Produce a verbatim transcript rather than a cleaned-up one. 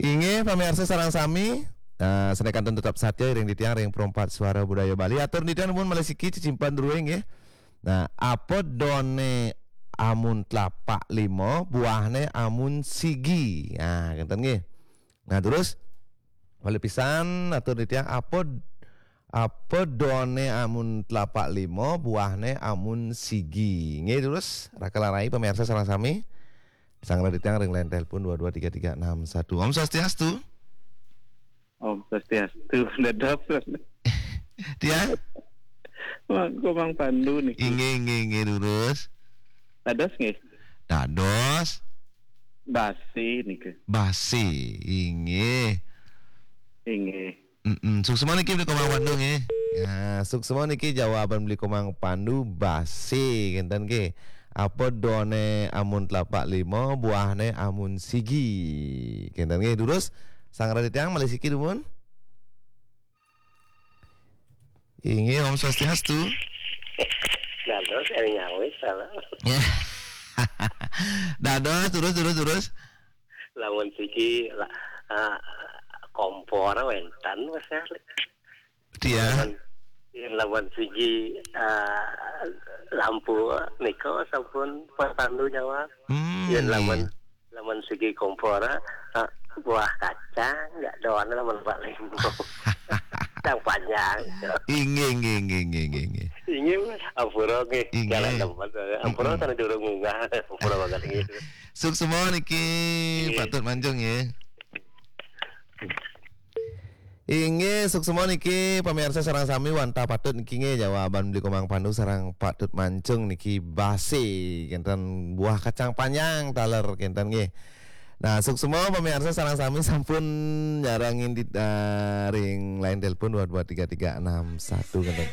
Inggih, pamiarsa sareng sami, eh, sané kantun tetep satya iring titiang ring Perempat Suara Budaya Bali. Atur titiang nuwun malih siki cecimpen druéné nggih. Nah, apa dané amun tlapak lima, buahné amun sigi. Nah, kénten nggih. Nah, terus malih pisan atur titiang apa apa dané amun tlapak lima, buahné amun sigi. Nggih, terus raka rai pamiarsa sareng sami. Sareng titiang ring line telepon dua dua tiga tiga enam satu. Om Swastiastu. Om Swastiastu, dados. Tiang? Mang, Komang Pandu niki. Inggih, inggih, inggih, durus. Dados nggih. Dados. Basi niki. Basi, inggih. Inggih. Mm-mm. Suksma niki Beli Komang Pandu nggih. Ya, suksma niki jawaban Beli Komang Pandu, basi, kénten nggih. Apa dané amun tlapak lima, buahné amun sigi. Kénten nggih, durus. Sareng titiang malih siki dumun. Inggih, Om Swastiastu. Dados, éling nyawis, salah. Ya. Dados, terus, terus, terus. Lamun sigi la-, ah, kompor wénten, Mas, ya. Tiang. Lamun, yén lamun sigi, ah, lampu nika sampun Pak Pandu jawab. Hmm, yén lamun, iya. Lamun sigi kompor, ah, buah kacang, nggak doan lamun paling. Yang panjang. Inggih, inggih, inggih, inggih, inggih, inggih. Inggih, ampura nggih. Inggih. Jalan tempat, ampura. Mm-mm. Sana durung munggah, ampura banget nggih. Suksma niki, inggih. Patut Mancung nggih. Inggih, suksma niki pamiarsa sareng sami wantah patut niki nggih jawaban Beli Komang Pandu sareng Patut Mancung niki basi, kénten buah kacang panjang taler kénten nggih. Nah, suksma pamiarsa sareng sami sampun nyarengin di, eh, ring line telepon dua dua tiga tiga enam satu kénten.